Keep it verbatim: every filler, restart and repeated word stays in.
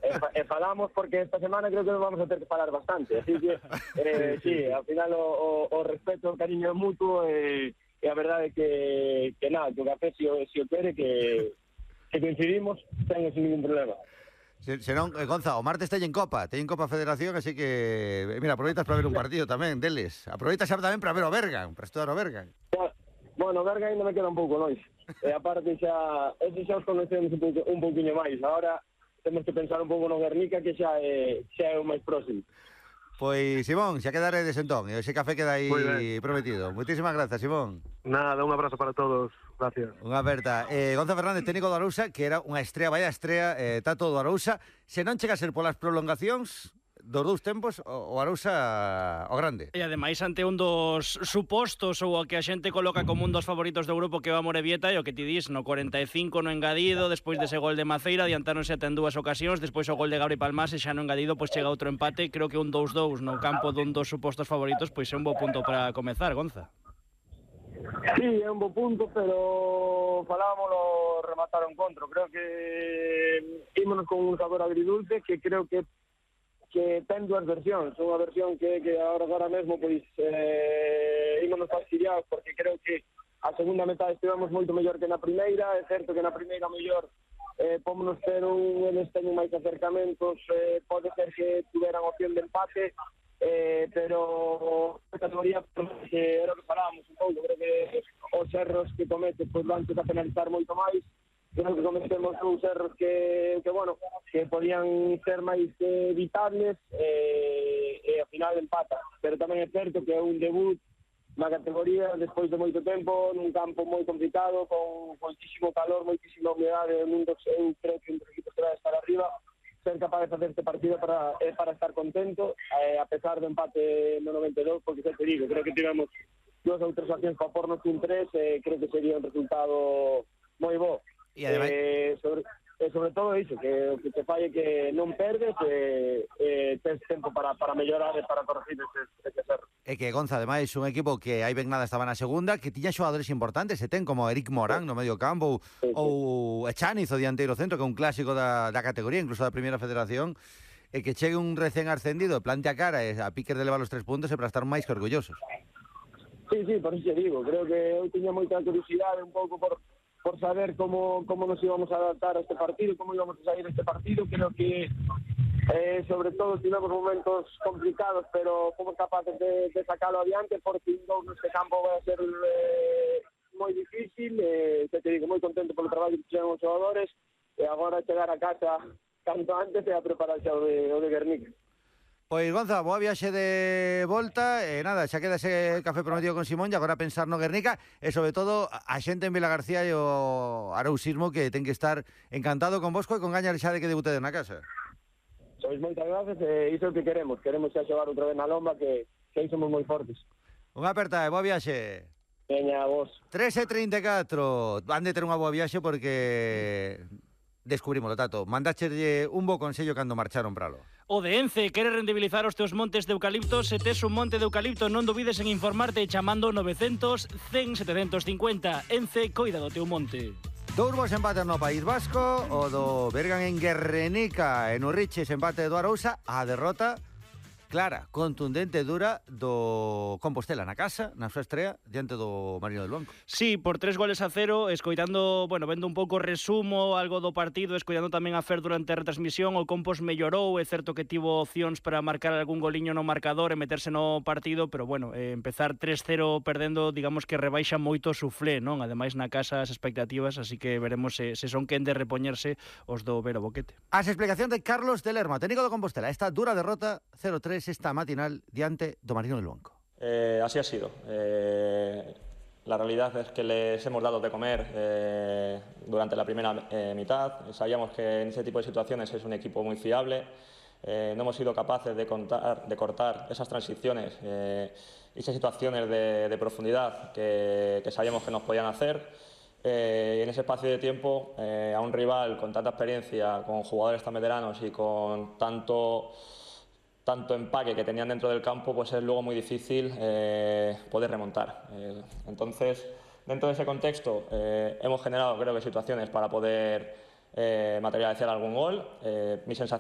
e, e falamos porque esta semana creo que nos vamos a ter que falar bastante, así que eh, sí, sí, ao final o, o, o respeto, o cariño mutuo e, e a verdade é que, que nada, que o café si o, si o quere que, que coincidimos, ten sin ningún problema. Se, senón, eh, Gonza, o martes teñen Copa, teñen Copa Federación, así que, mira, aproveitas para ver un partido tamén deles. Aproveitas xa tamén para ver o Bergan, para estudar o Bergan. Bueno, o Bergan ainda me queda un pouco longe. E aparte xa, ese xa os conocemos un, pouco, un pouquinho máis. Agora temos que pensar un pouco no Guernica, que xa é, xa é o máis próximo. Pois, Simón, xa quedaredes entón, e ese café queda aí prometido. Moitísimas grazas, Simón. Nada, un abrazo para todos. Gracias. Unha aperta. Eh, Gonza Fernández, técnico do Arousa, que era unha estrea, vaya estrea, eh, tato do Arousa. Se non chega a ser polas prolongacións dos dous tempos, o, o Arousa o grande. E ademais ante un dos supostos ou o que a xente coloca como un dos favoritos do grupo, que é o Amorebieta, e o que ti dis, no cuarenta e cinco no engadido, despois dese gol de Maceira, adiantáronse ata en dúas ocasións, despois o gol de Gabri Palmás, e xa no engadido pois chega outro empate. Creo que un dous dous no campo dun dos supostos favoritos pois é un bo punto para comezar, Gonza. Sí, é un bo punto, pero falámoslo rematar o encontro. Creo que ímonos con un sabor agridulce que creo que que ten dúas versións. Unha versión que, que agora, agora mesmo pois eh, ímonos fastidiados porque creo que a segunda metade estivemos moito mellor que na primeira. É certo que na primeira mellor eh, pómonos ter un eles teñen máis acercamentos, eh, pode ser que tuveran opción de empate, eh, pero a categoría que era o que falábamos un pouco, creo que os erros que comete pois van a penalizar moito máis. Creo que cometemos uns erros que, que bueno, que podían ser máis eh, evitables, eh, e ao final empata, pero tamén é certo que é un debut na categoría despois de moito tempo, nun campo moi complicado, con moitísimo calor, moitísima humedade, nun dos, eu creo que un dos equipos que vai estar arriba. Ser capaz de facer este partido para, é para estar contento, eh, a pesar do empate no noventa e dous, porque xa te digo, creo que tivemos dúas ou tres accións para pornos un tres, eh, creo que sería un resultado moi bo. E ademais... eh, sobre, eh, sobre todo iso, que, que te falle que non perdes, e eh, eh, tens tempo para, para mellorar e para corregir ese, ese erro. É que Gonza, ademais, un equipo que hai ben nada estaba na segunda, que tiña xogadores importantes, e ten como Eric Morán no medio campo, sí, sí. ou Echaniz, o dianteiro centro, que é un clásico da, da categoría, incluso da primeira federación, e que chegue un recén ascendido, plante a cara e a piques de levar os tres puntos e para estar máis que orgullosos. Sí, sí, por iso digo, creo que eu tiña moita curiosidade un pouco por por saber como, como nos íbamos a adaptar a este partido, como íbamos a sair este partido. Creo que eh, sobre todo tivemos momentos complicados, pero fomos capaces de, de sacarlo adiante, porque un neste campo vai a ser eh, moi difícil. Eh, te, te digo, moi contento polo traballo que fixeron os xogadores, e agora chegar a casa canto antes e a prepararse o de, o de Guernica. Pois, Gonza, boa viaxe de volta, e nada, xa queda ese café prometido con Simón, e agora pensar no Guernica, e sobre todo a xente en Vilagarcía e o arousismo, que ten que estar encantado con vosco e con gañar xa de que debutedes na casa. Sois moitas gracias, e iso é o que queremos, queremos xa xogar outra vez na lomba, que, que aí somos moi fortes. Unha aperta e boa viaxe. Veña, vos. tres e trinta e catro, van de ter unha boa viaxe porque descubrimos, Tato, mandacherlle un bo consello cando marcharon para lo. O de Ence quere rendibilizar os teus montes de eucalipto. Se tes un monte de eucalipto, non dubides en informarte chamando novecientos, cen, setecentos cincuenta. Ence, coida do teu monte. Dous bos empates no País Vasco, o do Bergan en Guernica, en Urriches empate do Arousa, a derrota clara, contundente, dura do Compostela na casa, na súa estrea, diante do Marino del Banco. Sí, por tres goles a cero, escoitando, bueno, vendo un pouco resumo, algo do partido, escoitando tamén a Fer durante a retransmisión. O Compos mellorou, é certo que tivo opcións para marcar algún goliño no marcador e meterse no partido, pero bueno, eh, empezar tres cero perdendo, digamos que rebaixa moito o suflé, non? Ademais na casa as expectativas, así que veremos se, se son quen de repoñerse os do Vero Boquete. As explicacións de Carlos de Lerma, técnico do Compostela, esta dura derrota cero tres esta matinal diante do Marino del Banco. Eh, así ha sido. Eh, la realidad es que les hemos dado de comer eh, durante la primera eh, mitad. Sabíamos que en ese tipo de situaciones es un equipo muy fiable. Eh, no hemos sido capaces de, contar, de cortar esas transiciones, eh, esas situaciones de, de profundidad que, que sabíamos que nos podían hacer. Eh, en ese espacio de tiempo, eh, a un rival con tanta experiencia, con jugadores tan veteranos y con tanto... tanto empaque que tenían dentro del campo, pues es luego muy difícil eh, poder remontar. Eh, entonces, dentro de ese contexto, eh, hemos generado, creo que, situaciones para poder eh, materializar algún gol. Eh, mi sensación